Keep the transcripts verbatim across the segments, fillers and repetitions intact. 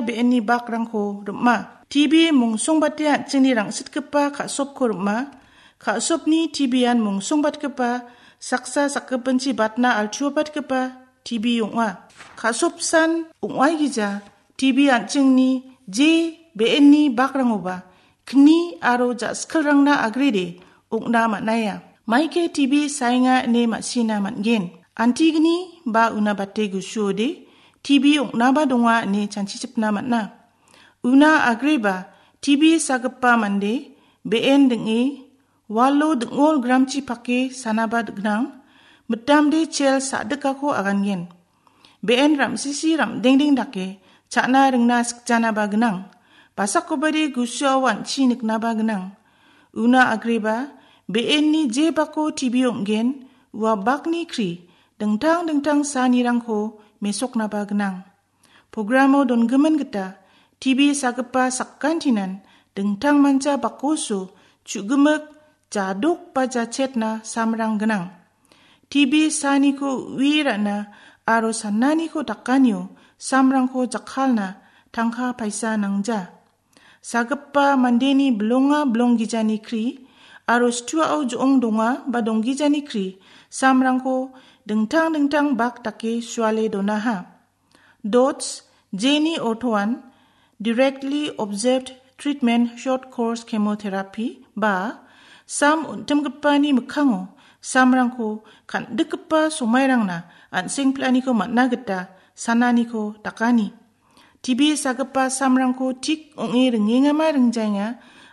be·enni bakrangko rim·a. T B mungsongbate an·chingni rangsitgipa ka·sopko rim·a. Ka·sopni T B-an mungsongbatgipa saksa sakgipinchi batna altuabatgipa T B ong·a. Ka·sopsan ong·aigija T B an·chingni je be·enni bakrangoba kni aro ja·skilrangna agrede ong·na man·aia. Maike T B saenga ine ma·sina man·gen. Antigni ba una bate gusuode T B ong·naba donga ine chanchichipna man·a. Una agreba T B sagipa mande be·en ding·e walo ding·ol gramchi pake sanaba gnang, mitamde chel sa·dikako agangen. Be·en ram·sisi ram·dengdeng dake cha·na ringna sikjanaba gnang, basakobade gusuao an·chi niknaba gnang. Una agreba be·enni je bako T B ong·gen, ua bakni kri dingtang dingtang sanirangko mesoknaba gnang. Programo dongimin gita T B sagipa sakantinan dingtang mancha bakoso chu·gimik jadok ba jachetna samrang gnang. T B saniko ui ra·na aro sananiko dakanio samrangko jakkalna tangka paisa nangja. Sagipa mandeni bilonga bilonggijani kri aro situao jo·ong donga ba donggijani kri samrangko dingtang dingtang bak dake suale donaha. DOTS, jeni ortoan Directly Observed Treatment Short Course Chemotherapy ba sam on·timgipani mikkango samrangko kan·dikgipa somairangna an·seng pil·aniko man·na gita sananiko dakani. T B sagipa samrangko tik ong·e ringengama ringjaenga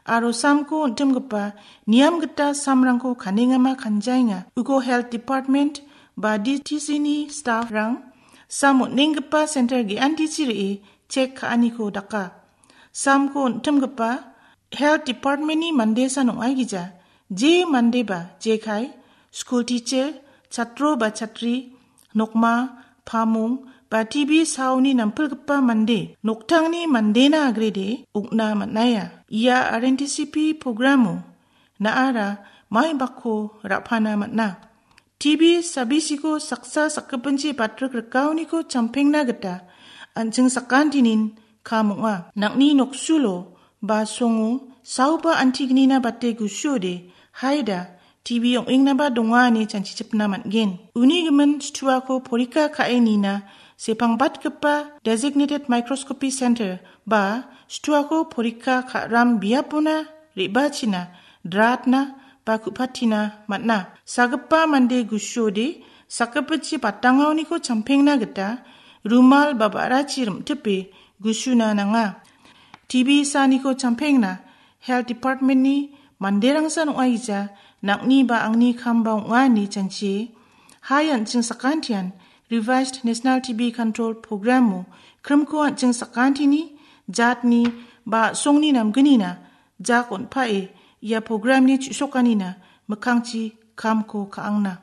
aro samko on·timgipa niam gita samrangko kanengama kanjaenga. Uko Health Department ba D T C-ni staff-rang sam on·enggipa center ge·antichi re·e chek ka·aniko daka. Samko on·timgipa Health Department-ni mandesan ong·aigija, je mandeba jekai, school teacher, chatro ba chatri, nokma, pamong ba T B saoni nampilgipa mande, noktangni mandena agrede ong·na man·aia. Ia R N T C P programo na·ara maibakko ra·pana man·a. T B sabisiko saksa sakgipinchi batrik rikaoniko champengna gita an·ching sakantinin kam ong·a. Nang·ni noksulo ba songo saoba antignina bate gusuode haida T B ong·engnaba donga ine chanchichipna man·gen. Uni gimin situako porika ka·e nina sepangbatgipa Designated Microscopy Center ba situako porika ka·ram biapona re·bachina dratna ba ku·patina man·a. Sagipa mande gusuode sakgipinchi batangaoniko champengna gita rumal ba ba·rachi rim·tipe gusuna nanga. T B saniko champengna Health Department-ni manderangsan ong·aija nang·ni ba angni kamba ong·a ine chanchie. Hai an·ching sakantian Revised National T B Control Program-o krimko an·ching sakantini jatni ba a·songni namgnina jak on·pae ia programni chu·sokanina mikkangchi kamko ka·angna.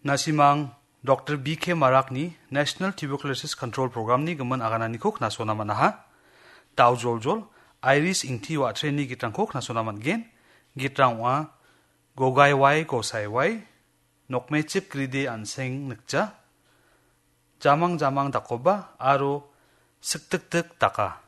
Nasimang Doktor B K Marakni National Tuberculosis Control Programni gimin agananiko knasona man·aha. Dao joljol, Iris Ingti wa·treni gitrangko knasona man·gen. Gitrang ong·a Gogaiwai Gosaiwai, Nokmechik Gride An·seng Nikja, Jamang Jamang Dakoba aro Siktiktik Daka.